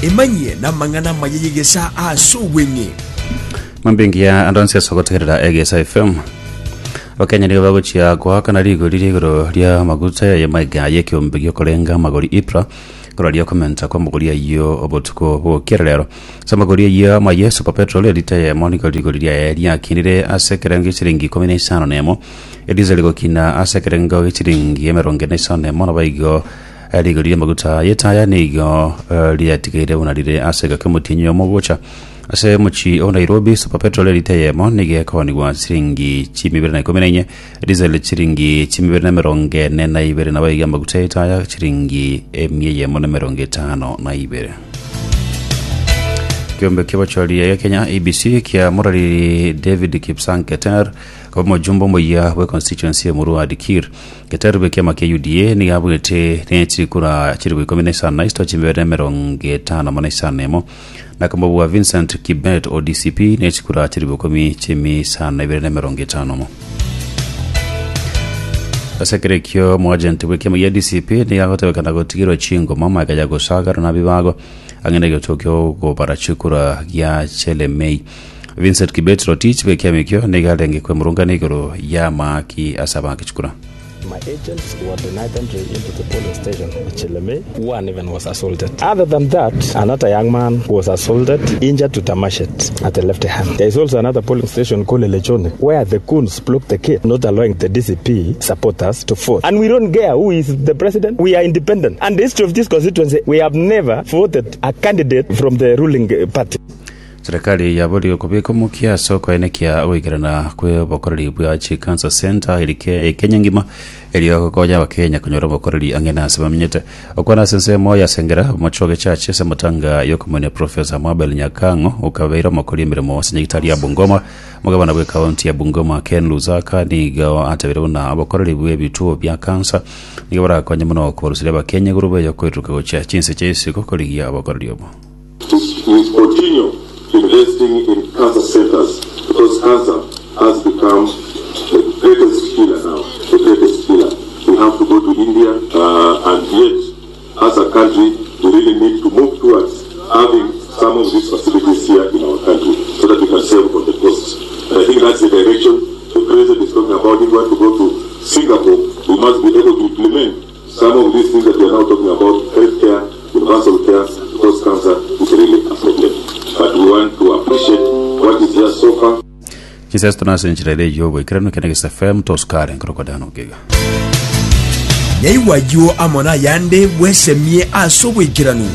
Emanyie namang'ana amaya y'egesaa ase obweng'e. Mambia engiya ande onsi ase ogotegerera Egesa FM. Abakenya nigo bagochia goakana rigori ria igoro ria amaguta ya maiga y'ekeombe giokorenga amagori EPRA koraria okomenta kw'amagori ayio obotuko bw'okiera rero. Ase amagori ayio amaya Super Petrol elita eyemo nigo rigori riaye riakinire ase ekerengo gia chiringi ikomi na isano na emo, ediesel egokina ase ekerengo gia chiringi emerongo ene na isano na emo naboigo Rigori ri'amaguta y'etaya nigo riatigaire buna rire ase egeka omotienyi oyomo gocha. Ase omochie o Nairobi, super petrol elita eyemo nigo ekoonigwa chiringi chimia ibere na ikomi na inye, diesel chiringi chimia ibere na emerongo ene na ibere, naboigo amaguta y'etaya chiringi emia eyemo na emerongo etano na ibere. Ekeombe ki'obochori gia Kenya ABC kia morariri David Kipsang Keter koba omojumbe omoyia bwe constituency ya Emurua Dikirr. Geterube ekiama kia UDA nigo abuete ne chikura chilifu ikomi na isano na isito chimibere na emerongo etano amo na isano na emo, na komobua Vincent Kibet o DCP ne chikura chilifu ikomi chimi isano na ibere na emerongo etano omo. Ase ekero ekio omoagent bw'ekiama gia DCP nigo agotebekana gotigerwa chingoma magega ya gosagarwa na bibago ang'e na egetuo ki'okobara chikura gia Chelemei. Vincent Kibet Rotich bw'ekiama ekio nigo arenge kwemurungana igoro y'amaaki ase abaaki chikura. My agents were denied entry into the polling station at Chelemei, one even was assaulted. Other than that, another young man was assaulted, injured with a machete at the left hand. There is also another polling station called Lelechone where the goons blocked the gate, not allowing the DCP supporters to vote. And we don't care who is the president, we are independent. And the history of this constituency, we have never voted a candidate from the ruling eh, party. Serikali yaborigwe kobeka omokia ase okoenekia ogoikerana kw'obokoreri bwa chicancer centre eri ke Kenya engima erio gokonya abakenya konyora obokoreri ang'e na ase bamenyete. Okwana ase ensemo ya Sengera omochoge church ase amatanga yokomoenia Professor Mabel Nyakang'o okabeire omokori emeremo ase nyagitari ya Bungoma omogabana bwe county ya Bungoma Ken Lusaka nigo atebire buna obokoreri bwe ebituo bia cancer nigo borakonye mono kobaruseria abakenya igoro buya yokoiruruka gochia chinse chia isiko korigia obokoreri obo. We continue investing in cancer centers because cancer has become the greatest killer now, the greatest killer. We have to go to India, uh, and yet, as a country, we really need to move towards having some of these facilities here in our country so that we can save on the costs. And I think that's the direction the president is talking about. If we want to go to Singapore, we must be able to implement some of these things that we are now talking about, healthcare, universal care, because cancer is really a problem. But we want to appreciate what is here so far. Chinsesto nase enchera ere y'oboikeranu ekero Egesa FM tosukare nkorokwa Dan Ogega. Nyaigwa ayio amo nayande bwesemie ase oboikeranu.